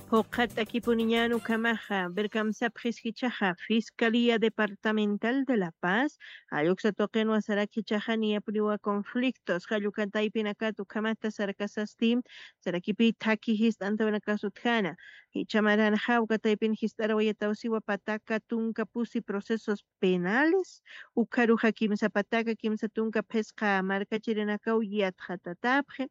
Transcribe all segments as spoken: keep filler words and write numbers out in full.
Juqat'akipuniñan ukhamaxa, ver kamsapxis jichhaxa, Fiscalía Departamental de La Paz, jalluksa tuqinwa sarak jichhaxa niyapuniwa conflictos, jallukataypinakat ukhamata sarakasasti, sarakipi thaki jist'antawinakas utjana, jichha maranxa ukataypin jist'arawayatawsiwa pataka tunka pusi procesos penales, ukharuxa kimsa pataka kimsa tunka phisqa markachirinakaw yatxatatapxi,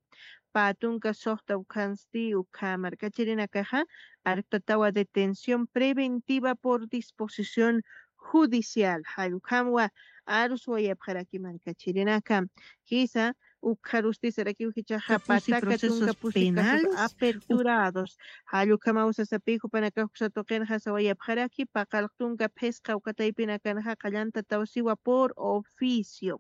pä tunka suxta ukhansti ukha markachirinakaxa arktatawa detención preventiva por disposición judicial. Jallukhamwa aruswayapxaraki markachirinaka. Jisa, ukxarusti sarakiw jichhaxa pataka tunka pusi casos aperturados. Jallukhamaw sasapi jupanakax uksa tuqinxa sawayapxaraki, paqallq tunka phisqa ukataypinakanxa qallantataw siwa por oficio.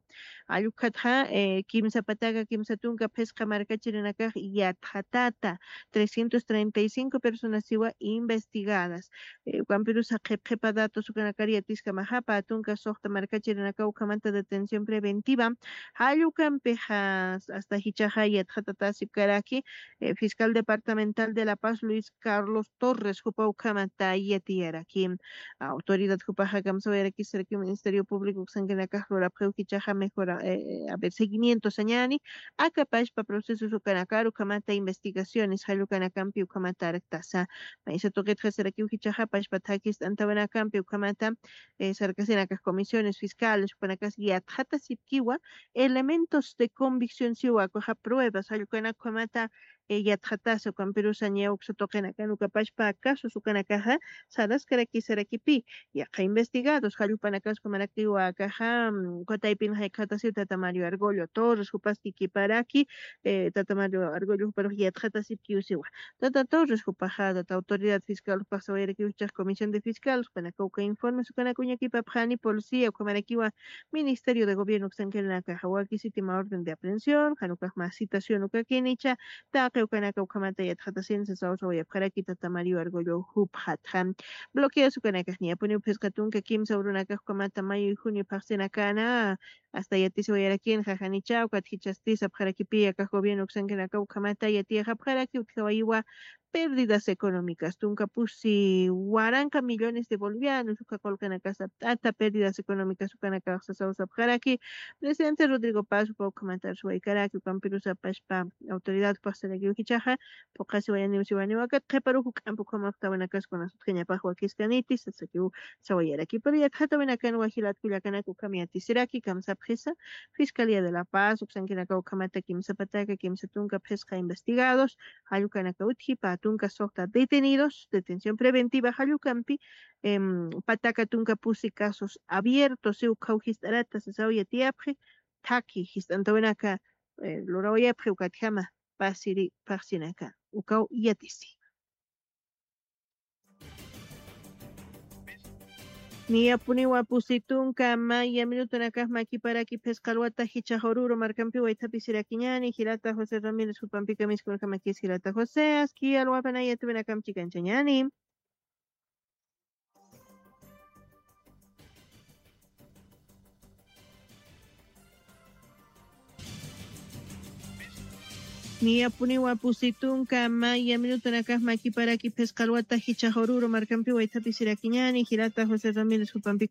Jallukhatxa, eh, kimsa pataka kimsa tunka phisqa markachirinakax yatxatata, trescientos treinta y cinco personas siwa investigadas. Eh, ukampirusa qhip qhipa datos ukanakar yatiskamaxa, pä tunka suxta markachirinakaw ukhamanta detención preventiva, jallukampixa hasta jichhaxa yatxatatasipkaraki, eh, fiscal departamental de La Paz, Luis Carlos Torres, jupa ukhamata yatiyaraki. Autoridad jupaxa kamsawayarakisaraki Ministerio Público uksankanakax lurapxiw jichhaxa mejora, eh, a ver, seguimiento sañani, akapashpa procesos ukanakar ukhamata investigaciones jallukanakampi ukhamata arktasa. Maysa tuqitxa sarakiw jichhaxa pashpa thakis t'antawanakampi ukhamata, eh, sarkasinakax comisiones fiscales, jupanakas yatxatasipkiwa elementos de convicción siwa, ukaxa pruebas, jallukanakamata, eh, yatxatasa, ukampirusa ña uksa tuqinakan ukapashpa casos ukanakaxa, saraskaraki sarakipi, yaqha investigados, jallupanakas jupamarakiwa akaxa, mm, ukataypin jaykhatasaw tata Mario Argollo Torres, jupas kikiparaki, eh, tata Mario Argollo juparux yatxatasipkiw siwa. Tata Torres jupaxa, tata autoridad fiscal jupax sawayarakiw jichhax comisión de fiscal, jupanakaw uka informes ukanak uñakipapxani, policía, ukhamarakiwa Ministerio de Gobierno uksankanakaxa, wakisitima orden de aprehensión, jan ukax mä citación ukakinicha, taqi ukanaka ukhamata yatxatasin sasaw sawayapxaraki tata Mario Argollo jupxatxa. Bloqueos ukanakax niyapuniw phisqa tunka kimsa urunakax ukhamata mayo y junio phaxsinakana, hasta yatisiwayarakinxa janicha, ukat jichhasti sapxarakipi akax gobierno uksankanakaw ukhamata yatiyaxapxaraki utjawayiwa pérdidas económicas, tunka pusi waranqa millones de bolivianos, uka qullqinakasa t'ata pérdidas económicas ukanakax sasaw sapxaraki, presidente Rodrigo Paz jupa ukhamata arsuwaykaraki, ukampirusa pashpa autoridad jupax sarakiw jichhaxa, phuqhasiwayaniw siwaniw akat, qhiparux juk'ampi ukhamapxtawinakas kunas utjañapax wakiskaniti, sasakiw sawayaraki. Pero yatxatawinakan jilat kullakanak ukham yatisiraki, kamsapxisa, Fiscalía de La Paz, uksankanakaw ukhamata kimsa pataka kimsa tunka phisqa investigados, jallukanaka utji, pä tunka suxta detenidos, detención preventiva jallukampi, em, pataka tunka pusi casos abiertos, si ukhaw jist'arata sasaw yatiyapxi, thaki jist'antawinaka, eh, lurawayapxi ukatjama pasiri phaxsinaka, ukaw yatisi. Niyapuniwa pusi tunka maya minutonakax makiparaki phisqa alwata jichhax Oruro markampi waythapisirakiñani, jilata José Ramírez jupampi kamiskunakamakis jilata José, aski alwapanaya tuwinakampi kanchañani. Niyapuniwa pusi tunka maya minutonakax makiparaki phisqa alwata jichhax Oruro markampi waythapisirakiñani, jilata José Ramírez jupampi.